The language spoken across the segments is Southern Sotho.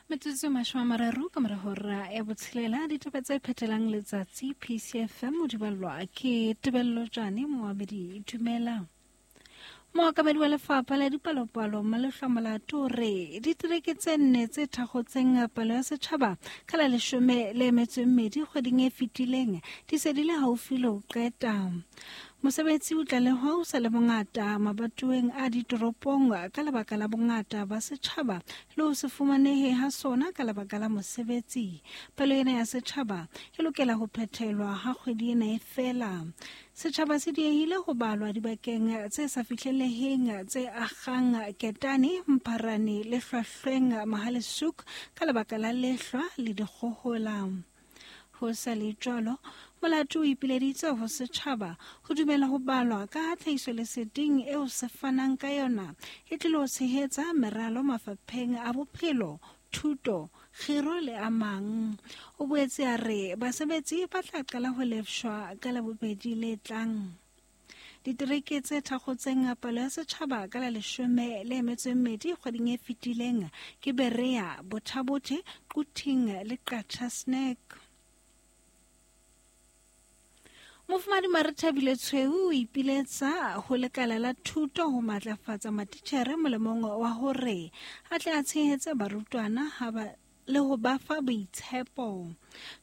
Metsotso 30 ka mora hora ya botshelela, ditaba tse phethelang letsatsi PCFM o di ballwa ke Tebello Jane Moabedi. Dumela. Mookamedi wa lefapha la dipalopalo Malehlwa Molato o re ditereke tse nne tse thakgotseng palo ya setjhaba ka la 12 kgweding e fetileng di se di le haufi le ho qeta. Mosebetsi o tlalehwa o sa le bongata mabatoweng a ditoropong ka lebaka la bongata ba setjhaba le ho se fumanehe ha sona ka lebaka la mosebetsi. Palo ena ya setjhaba e lokela ho phethelwa ha kgwedi ena e fela. Setjhaba se diehile ho balwa dibakeng tse sa fihleleheng tse akgang Ketane, Mpharane le Hlwahlweng Mahalesook ka lebaka la lehlwa le dikgohola. Ho sa le jwalo, Molato o ipileditse ho setjhaba ho dumela ho balwa ka ha tlhahisoleseding eo se fanang ka yona e tlilo tshehetsa meralo mafapheng a bophelo, thuto, kgiro le a mang. O boetse a re basebetsi ba tla qala ho lefshwa ka Labobedi le tlang. Ditereke tse thakgotseng palo ya setjhaba ka la 12 kgweding e fetileng ke Berea, Bothabothe, Quthing le Qacha Snack. Mofumadi Marethabile Tshweu o ipiletsa ho lekala la thuto ho matlafatsa matitjhere molemong wa hore a tle a tshehetse barutwana ha ba le ho ba fa boitshepo.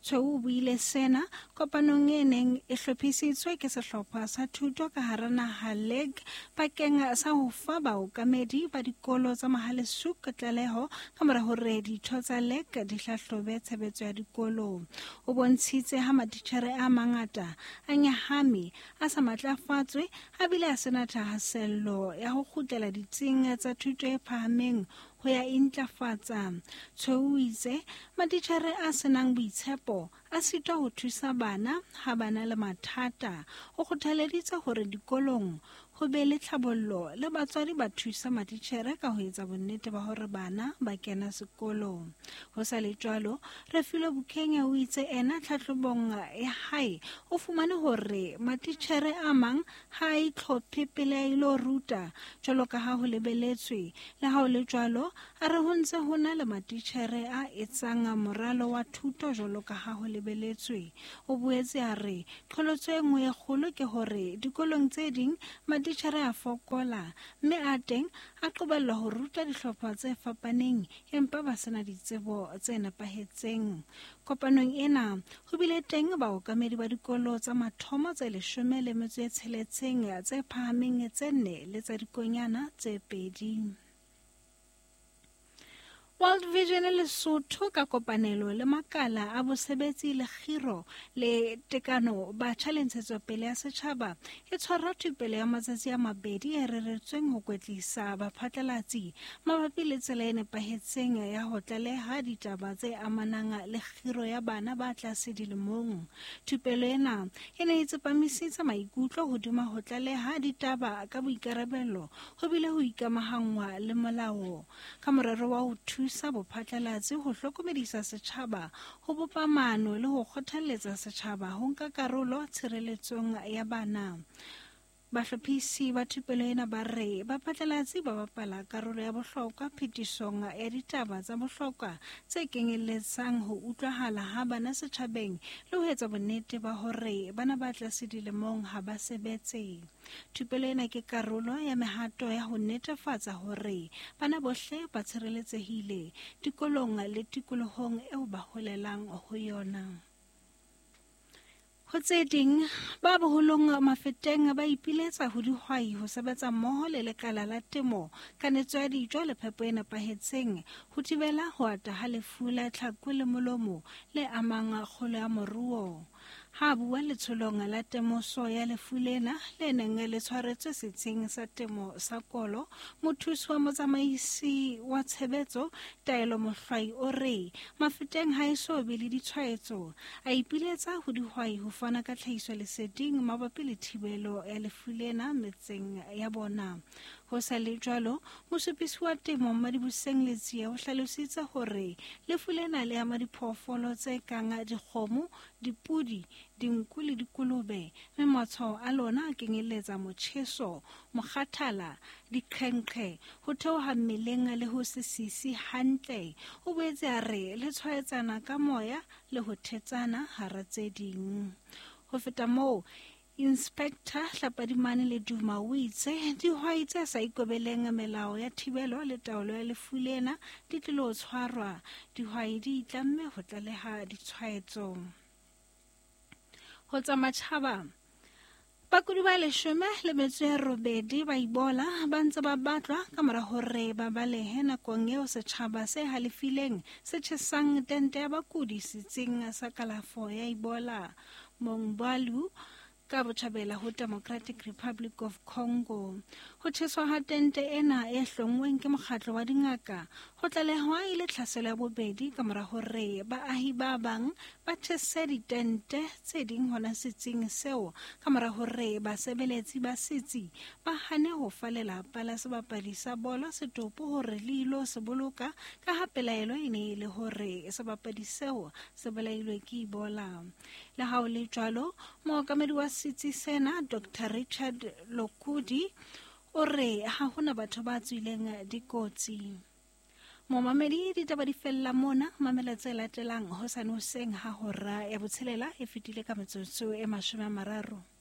Tshweu o buile sena kopanong e neng e hlophisitswe ke sehlopha sa thuto ka hara naha LEG bakeng sa ho fa baokamedi ba dikolo tsa Mahalesook tlaleho ka mora hore ditho tsa LEG di hlahlobe tshebetso ya dikolo. O bontshitse ha matitjhere a mangata a nyahame, a sa matlafatswe, a bile a sena thahasello ya ho kgutlela ditsing tsa thuto e phahameng ho ya intlafatsa. Tshweu o itse matitjhere a senang boitshepo a sitwa ho thusa bana ha ba na le mathata. O kgothaleditse hore dikolong ho be le tlhabollo le batswadi ba thusa matitjhere ka ho etsa bonnete ba hore bana ba kena sekolo. Ho sa le jwalo, Refilwe Bukenya o itse ena tlhahlobong ya hae o fumane hore matitjhere a mang ha a itlhophe pele a ilo ruta jwalo ka ha ho lebeletswe. Le ha ho le jwalo, a re ho ntse ho na le matitjhere a etsang moralo wa thuto jwalo ka ha ho lebeletswe. O boetse a re qholotso e nngwe e kgolo ke hore dikolong tse ding matitjhere a fokola mme a teng a qobellwa ho ruta dihlopha tse fapaneng empa ba sena ditsebo tse nepahetseng. Kopanong ena ho bile teng baokamedi ba dikolo tsa mathomo tse 16, tse phahameng tse 4 le tsa dikonyana tse 2. World Vision Lesotho ka kopanelo le makala a bosebetsi le kgiro le tekano batjha le ntshetsopele ya setjhaba e tshwara thupelo ya matsatsi a mabedi e reretsweng ho kwetlisa baphatlalatsi mabapi le tsela e nepahetseng ya ho tlaleha ditaba tse amanang le kgiro ya bana ba tlase dilemong. Thupelo ena e ne e tsepamisitse maikutlo hodima ho tlaleha ditaba ka boikarabelo ho bile ho ikamahangwa le molao ka morero wa ho thusa bophatlalatsi ho hlokomedisa setjhaba, ho bopa maano le ho kgothalletsa setjhaba ho nka karolo tshireletsong ya bana. Bahlophisi ba thupelo ena ba re baphatlalatsi ba bapala karolo ya bohlokwa phetisong ya ditaba tsa bohlokwa tse kenyelletsang ho utlwahala ha bana setjhabeng le ho etsa bonnete ba hore bana ba tlase dilemong ha ba sebetse. Thupelo ena ke karolo ya mehato ya ho netefatsa hore bana bohle ba tshireletsehile dikolong le tikolohong eo ba holelang ho yona. Ho tse ding, ba boholong Mafeteng ba ipiletsa ho dihwai ho sebetsa mmoho le lekala la temo, kanetso ya dijo le phepo e nepahetseng ho thibela ho ata ha lefu la tlhaku le molomo le amang kgolo ya moruo. Ha a bua letsholong la temoso ya lefu lena le neng le tshwaretswe setsing sa temo sa Kolo, mothusi wa motsamaisi wa tshebetso Taelo Mohlwai o re Mafeteng ha eso be le ditshwaetso. A ipiletsa ho dihwai ho fana ka tlhahisoleseding mabapi le thibelo ya lefu lena metseng ya bona. Ho sa le jwalo, mosupisi wa temo Mmadibuseng Letsie o hlalositse hore lefu lena le ama diphoofolo tse kang dikgomo, dipudi, dinku le dikolobe, mme matshwao a lona a kenyelletsa motjheso, mokgathala, diqhenqhe, ho theoha mmeleng le ho se sise hantle. O boetse a re le tshwaetsana ka moya le ho thetsana hara tse ding. Ho feta moo, Inspector Hlapadimane Leduma o itse dihwai tse sa ikobeleng melao ya thibelo le taolo ya lefu lena di tlilo tshwarwa. Dihwai di itlamme ho tlaleha ditshwaetso. Ho tsa matjhaba, bakudi ba 18 ba Ebola ba ntse ba batlwa ka mora hore ba balehe nakong eo setjhaba se halefileng se tjhesang tente ya bakudi setsing sa kalafo ya Ebola Mongbalu ka botjhabela ho Democratic Republic of Congo. Ho tjheswa ha tente ena e hlonngweng ke mokgatlo wa dingaka ho tlalehwa e le tlhaselo ya bobedi ka mora hore baahi ba bang ba tjhese ditente tse ding hona setsing seo ka mora hore basebeletsi ba setsi ba hane ho fa lelapa la sebapadi sa bolo setopo hore le ilo se boloka ka ha pelaelo e ne e le hore sebapadi seo se bolailwe ke Ebola. Le ha ho le jwalo, mookamedi wa setsi sena Dr. Richard Lokudi o re ha hona batho ba tswileng dikotsi. Momamedi, ditaba di fella mona. Mamela tse latelang hosane hoseng ha hora ya 6 e fetile ka metsotso e 30.